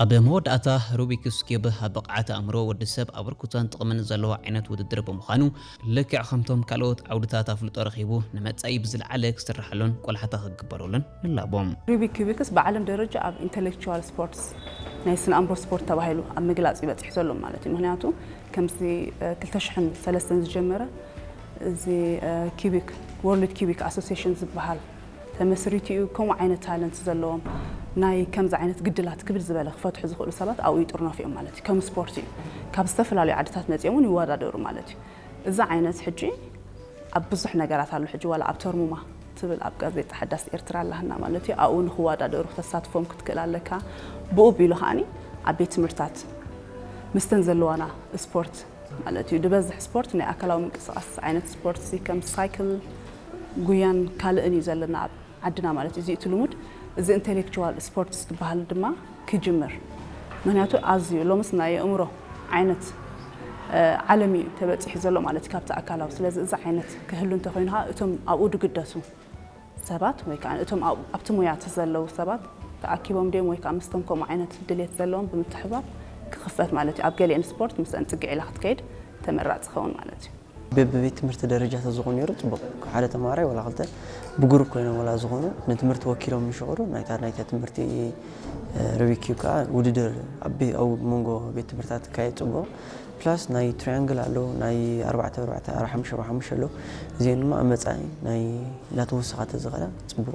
ኣብ መወዳእታ፣ ሩቢክስ ኪዩብ ኣብ ብቕዓት ኣእምሮ ወዲ ሰብ ኣበርክቶን ጥቕምን ዘለዎ ዓይነት ውድድር ብምዃኑ፣ ልክዕ ከምቶም ካልኦት ዓውድታት ኣፍልጦ ረኺቡ ንመጻኢ ብዝለዓለ ክስርሓሉን ቆላሕታ ክግበረሉን ንላቦ። ሩቢክ ኪዩቢክስ ብዓለም ደረጃ ኣብ ኢንተሌክቹዋል ስፖርትስ፣ ናይ ስነ ኣእምሮ ስፖርት ተባሂሉ ኣብ ምግላፅ ይበፅሕ ዘሎ ማለት እዩ። ምክንያቱ ከምዚ ክልተ ሽሕን ሰለስተን ዝጀመረ እዚ ኪዩቢክ፣ ወርልድ ኪዩቢክ ኣሶሲሽን ዝበሃል ተመስሪቱ እዩ። ከምኡ ዓይነት ታለንት ዘለዎም፣ ናይ ከምዚ ዓይነት ግድላት ክብል ዝበለ ክፈትሑ ዝኽእሉ ሰባት ኣብኡ ይጥርነፉ እዮም ማለት እዩ። ከም ስፖርት እዩ። ካብ ዝተፈላለዩ ዓድታት መፂኦም እውን ይወዳደሩ ማለት እዩ። እዚ ዓይነት ሕጂ ኣብ ብዙሕ ነገራት ኣሎ። ሕጂ ዋላ ኣብ ተርሙማ ትብል ኣብ ጋዜጣ ሓዳስ ኤርትራ ኣለሃና ማለት እዩ። ኣብኡ ንክወዳደሩ ክተሳትፎም ክትክእል ኣለካ። ብኡ ቢሉ ከዓኒ ኣብ ቤት ትምህርታት ምስተን ዘለዋና ስፖርት ማለት እዩ። ዝበዝሕ ስፖርት ናይ ኣካላዊ ምንቅስቃስ ዓይነት ስፖርት እዚ ከም ሳይክል፣ ጉያን ካልእን እዩ ዘለና ኣብ ዓድና ማለት እዩ። እዚ እቲ ልሙድ፣ እዚ ኢንቴሌክቹዋል ስፖርትስ ዝበሃል ድማ ክጅምር። ምክንያቱ ኣዝዩ ሎምስ ናይ ኣእምሮ ዓይነት ዓለም እዩ ተበፂሑ ዘሎ ማለት እዩ ካብቲ ኣካላዊ። ስለዚ እዚ ዓይነት ክህሉ እንተኮይኑ ከዓ እቶም ኣብኡ ድግደሱ ሰባት ወይ ከዓ እቶም ኣብቲ ሙያ ዘለዉ ሰባት ተኣኪቦም ድዮም ወይ ከዓ ምስቶም ከምኡ ዓይነት ድሌት ዘለዎም ብምትሕባር ክኽፈት ማለት እዩ። ኣብ ገሊአን ስፖርት ምስአን ፅግዕ ኢላ ክትከይድ ተመራፂ ክኸውን ማለት እዩ። በብቤት ትምህርቲ ደረጃ ተዝኾኑ ነይሩ ፅቡቅ። ሓደ ተማሃራይ ወላ ክልተ ብግሩፕ ኮይኖም ወላ ዝኾኑ ንትምህርቲ ወኪሎም ምሽቕሩ ናይታ ናይታ ትምህርቲ ሩቢክ ኪዩብ ከዓ ውድድር ኣብ መንጎ ቤት ትምህርታት ክካየድ ፅቡቅ። ፕላስ ናይ ትሪያንግል ኣሎ፣ ናይ ኣርባዕተ ኣርባዕተ፣ ሓሙሽተ ሓሙሽተ ኣሎ። እዚአን ድማ ኣብ መፃኢ ናይ እንዳተወሰኻ ተዝኸዳ ፅቡቅ።